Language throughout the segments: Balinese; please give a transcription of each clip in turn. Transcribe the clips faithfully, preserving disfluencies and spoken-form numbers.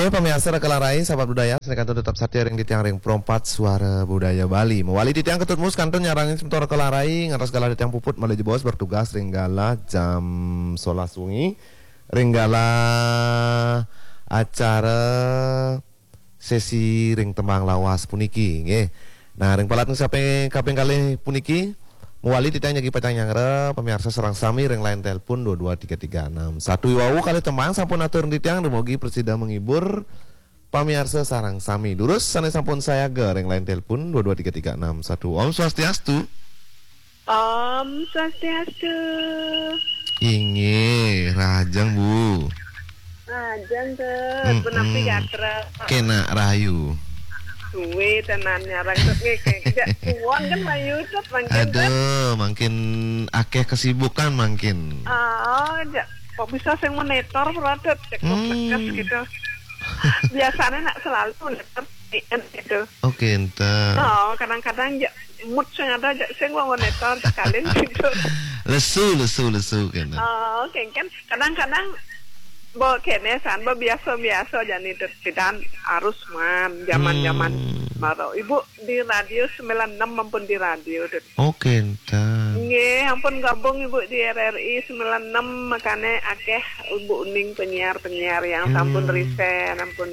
Eh, pamiarsa Raka Larai, sahabat budaya, sané kantun tetep satia ring titiang ring Pro empat Suara Budaya Bali. Mawali titiang ketut mus kantun nyarengin semeton Raka Larai, ngantos galah titiang puput malih jebos bertugas ring galah jam solas wengi, ring galah acara sesi ring tembang lawas puniki, nggih. Nah, ring palat sane kaping, kaping kalih puniki, mawali titiang jagi pacang nyanggra, pamiarsa sareng sami ring line telepon dua dua tiga tiga enam satu. Iwau kalih tembang sampun atur ring titiang, dumugi prasida menghibur pamiarsa sareng sami. Durus sane sampun sayaga ring line telepon dua dua tiga tiga enam satu. Om Swastiastu. Om Swastiastu. Inggih, rahajeng, Bu. Rahajeng, Tut. Mm-mm. Punapi gatra? Kenak rahayu. Suwe tenan nyarengin, Tut, nggih, nggih. Sejak suwon kan mayu, Tut, mangkin, Tut. Aduh, mangkin akeh kesibukan mangkin. Ah, ja. Kok bisa sing monitor, Tut? Cek Hmm. Gitu. Biasanya nak selalu monitor gitu. Oke, enten. Oh, kadang-kadang ja mood sing ada ja sing wong monitor ja kalin gitu. Lesu, lesu, lesu kena. Oh, oke, kan kadang-kadang bo kene san, bo biasa-biasa jani, Tut, pidan arus man, zaman-zaman Hmm. maro. Ibu di radio sembilan enam mampun di radio, Tut. Oke, enten. Nggih, ampun gabung Ibu di R R I sembilan enam, makane akeh Ibu uning penyiar-penyiar yang sampun Hmm. resign, ampun,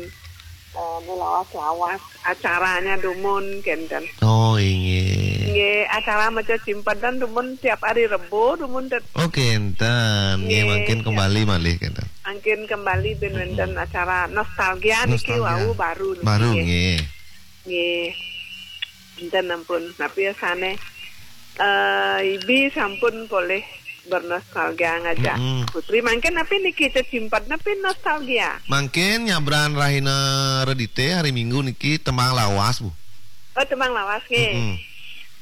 eh, lawas-lawas acaranya dumun, kenten. Oh, inggih. Nggih, acara maca cimpedan dumun tiap hari Rebo dumun, Tut. Oke, enten. Nggih, nggih, mangkin ya. Kembali malih, kenten. Mangkin kembali ben Mm-mm. Wenten acara nostalgia niki. Nostalgia. Wau baru niki, baru, nggih. Nggih. Nggih. Enten ampun, napi asane? Eh, Ibi sampun polih bernostalgia ngajak Mm-mm. Putri. Mangkin napi niki cecimpat napi nostalgia? Mangkin nyabran rahina Redite hari Minggu niki tembang lawas, Bu. Oh, tembang lawas nggih. Mm-mm.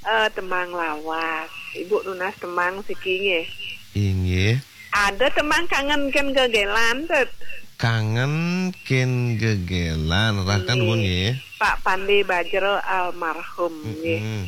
Eh, tembang lawas. Ibu nunas tembang siki nggih. Inggih. Ada tembang kangen ken gegelan, Tut. Kangen ken gegelan, rakan Nggih. Pun nggih. Pak Pande Bajro almarhum, nggih. Mm-mm.